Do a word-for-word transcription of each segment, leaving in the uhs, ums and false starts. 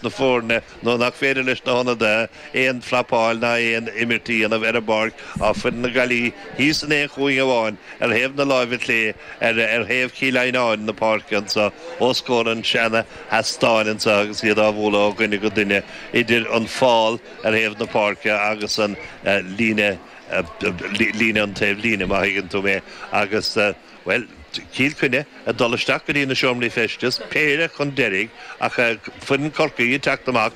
na foirne nó nach féidir leis na hionadaithe aon phrapáil ná aon imirt a dhéanamh ar an bpáirc. Tá foireann na Gaillimhe thíos in aon chúinne amháin ar thaobh na láimhe clé ar ar thaobh Chill Adhnáin na páirce anseo os comhair an seana sheastáin anseo agus iad á bhualadh ó dhuine go duine idir an fál ar thaobh na páirce agus an líne líne an taobh líne má thuigeann tú mé agus bhuel Cill Chainnigh ag dul isteach go dtí na seomraí feistis, péire chun deiridh ach foireann Chorcaí ag teacht amach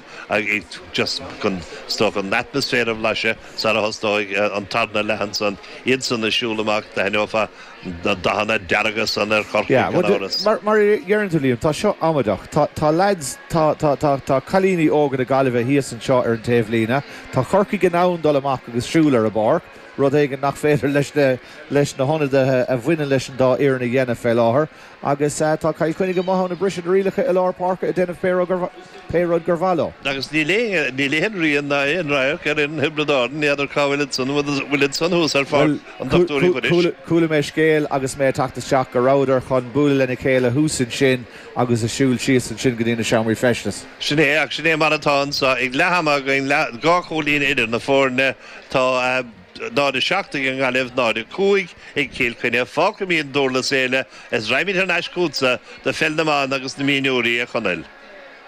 just chun is dócha an atmaisféar a bhlaiseadh sara thosnóidh an tarna leath ansan, iadsan ag siúl amach, d'aithneofá na dathanna dearga san ar Chorcaigh gan amhras. Mar mar a deireann tú Liam, tá seo amaideach. Tá tá lads, tá tá tá tá cailíní óga na Gaillimhe thíos anseo ar an taobhlíne. Tá Corcaigh in ann dul amach agus siúl ar an bpáirc. Rud éigin nach féidir leis na leis na hionadaithe a bhaineann leis an dá fhoireann a dhéanamh fé láthair. Agus tá Cill Chainnigh amuigh ann ag briseadh na rialacha i lár páirce ag déanamh pé rud gur pé rud gur mhaith leo. Agus níl aon níl aon rian ná aon radharc ar fhoireann Thiobraid Árann, n'fheadar cá bhfuil iad san, bhfuil iad san thuas ar Pháirc an Dochtúir Uí Mhuiris. Chuala mé scéal agus mé ag teacht isteach go rabhadar chun bualadh lena chéile thuas ansin agus ag siúl síos ansin go dtí na seomraí feistis. Sin é, ach sin é mar atá anseo ag leath ama againn, dhá chúilín idir na foirne. Tá náid a seacht ag an nGaillimh, náid a cúig ag Cill Chainnigh. Fágfaimid an Dúrlas Éile is raghaimid thar n-ais chugatsa do pheil na mban agus na mionúirí, a Chonaill.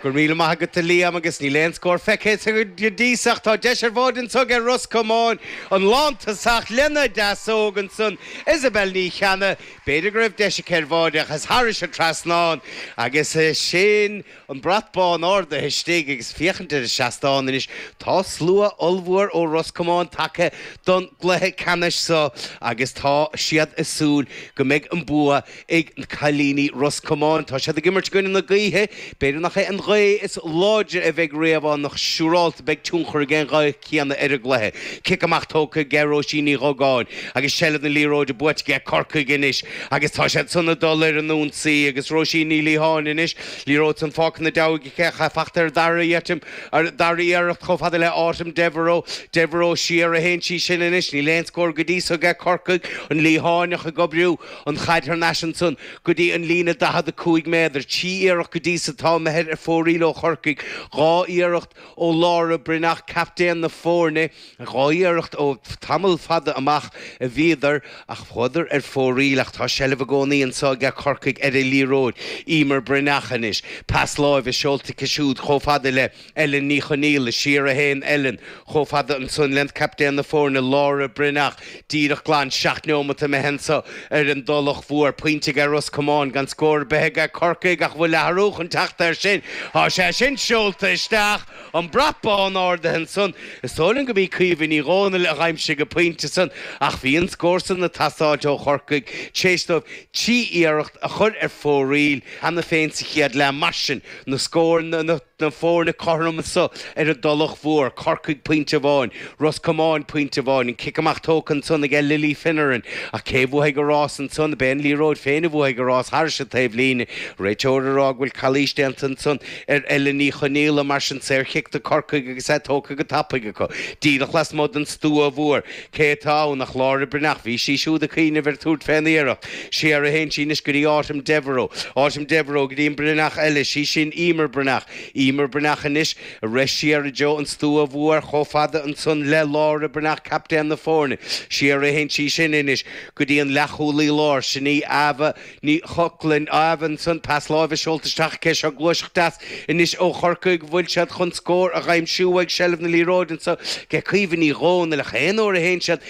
Go raibh míle maith agat a Liam agus níl aon scór feicthe go dtí so ach tá deis ar bháide anso ag Ros Comáin an lántosach lena deasóg ansan Isabel Ní Cheannaigh. B'fhéidir go raibh deis aici ar bháide ach is thairis an trasnán agus sin an brat bán ardaithe istigh agus féachaint ar an seastán anois. Tá slua ollmhór ó Ros Comáin tagtha don gcluiche ceannais seo agus tá siad ag súil go mbeidh an bua ag cailíní Ros Comáin. Tá siad ag imirt i gcoinne na gaoithe. B'fhéidir nach é an ghaoth is láidre a bheidh riamh ann ach siúrálta beidh tionchar ag an ghaoth chéanna ar an gcluiche. Cic amach tógtha ag Róisín Ní Dhugáin agus seilbh na liathróide buaite ag Corcaigh anois agus tá siad san ag dul ar an ionsaí agus Róisín Ní Liatháin anois, liathróid san fágtha ina deabhaidh aici ach fachta ar dara iarracht, ar dara iarracht chomh fada le Autumn Devereux. Devereux siar a théann sí sin anois. Níl aon scór go dtí so ag Corcaigh. An Liatháineach ag oibriú an chaid thar n-ais ansan go dtí an líne daichead a cúig méadar. Trí iarracht go dtí so atá imithe ar fóraoil ó Chorcaigh. Dhá iarracht ó Laura Breathnach, captaen na foirne. Dhá iarracht ó tamall fada amach a bhíodar ach chuadar ar fóraoil ach tá seilbh i gcónaí anso ag Corcaigh ar an liathróid. Emer Breathnach anois. Pas láimhe seolta aici siúd chomh fada le Ellen Ní Chonaola. Siar a théann Ellen chomh fada ansan le captaen na foirne, Laura Breathnach. Díreach glan seacht neomat imithe anso ar an dTulach Mhór. Pointe ag Ros Comáin gan scór ar bith ag Corcaigh ach bhfuil athrú chun teacht air sin? Tá sé sin seolta isteach. An brat bán ardaithe ansan. Is dóigh liom go b'í Caoimhe Ní Dhomhnaill a dh'aimsigh an pointe san ach bhí an scór san ag teastáilt ó Chorcaigh tar éis dóibh trí iarracht a chur ar fóraoil cheana féin sa chéad leath. Mar sin, na scóranna, na foirne cothrom anso ar an dTulach Mhór, Corcaigh pointe amháin, Ros Comáin pointe amháin, an cic amach tógtha ansan aige Lily Finneran ach cé a bhuafaidh an rás ansan? Ab é an liathróid féin a bhuafaidh an rás thairis an taobh líne? Réiteoir ag rá go bhfuil calaois déanta ansan ar Ellen Ní Chonaola, mar sin saorchic do Corcaigh agus é tógtha go tapaidh acu díreach lasmuigh den stua mhór. Cé atá ann ach Laura Breathnach? Bhí sí siúd ag cuimhneamh ar tabhairt fén iarracht. Siar a théann sí anois go dtí Autumn Devereux. Autumn Devereux go dtí an Breathnach eile, sí sin Emer Breathnach. Emer Breathnach anois ag rith siar i dtreo an stua mhóir chomh fada ansan le Laura Breathnach, captaen na foirne. Siar a théann sí sin anois go dtí an leathchúlaí láir, sin í Ava Ní Chochlain. Ava ansan, pas láimhe seolta isteach aici. Seo gluaiseacht deas anois ó Chorcaigh. Bhfuil siad chun scór a dh'aimsiú ag seilbh na liathróide anso ag Caoimhe Ní Dhomhnaill ach aon uair a théann siad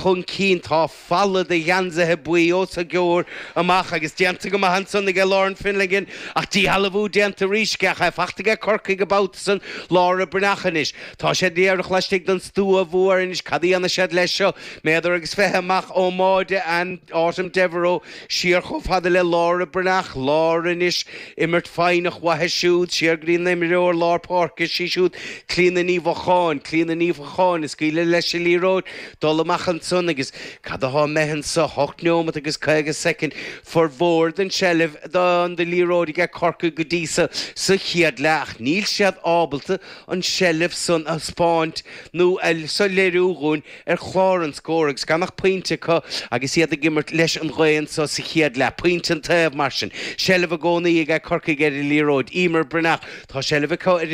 chun cinn tá falla de gheansaithe buí os a gcomhair amach agus déanta go maith ansan aige Lauren Finnegan ach díshealbhú déanta arís aige ach é fachta aige Corcaigh an babhta san. Laura Breathnach anois. Tá siad díreach laistigh den stua mhór anois. Cad a dhéanfaidh siad leis seo? Méadar agus fiche amach ón mbáide and Autumn Devereux siar chomh fada le Laura Breathnach. Laura anois, imirt foighneach uaithi siúd, siar go dtí an imreoir lár páirce, sí siúd Clíona Ní Mhocháin. Clíona Ní Mhocháin ag scaoileadh leis an liathróid dul amach ansan agus cad atá imithe anso? Hocht neomat agus caoga soicind. Formhór den tseilbh don liathróid aige Corcaigh go dtí so sa chéad leath ach níl siad ábalta an tseilbh san a thaispeáint nó a soiléiriú dhúinn ar chlár an scóir agus gan ach pointe acu agus iad ag imirt leis an ghaoth anso sa chéad leath. Pointe an taobh mar sin. Seilbh i gcónaí aige Corcaigh ar an liathróid. Emer Breathnach. Tá seilbh acu ar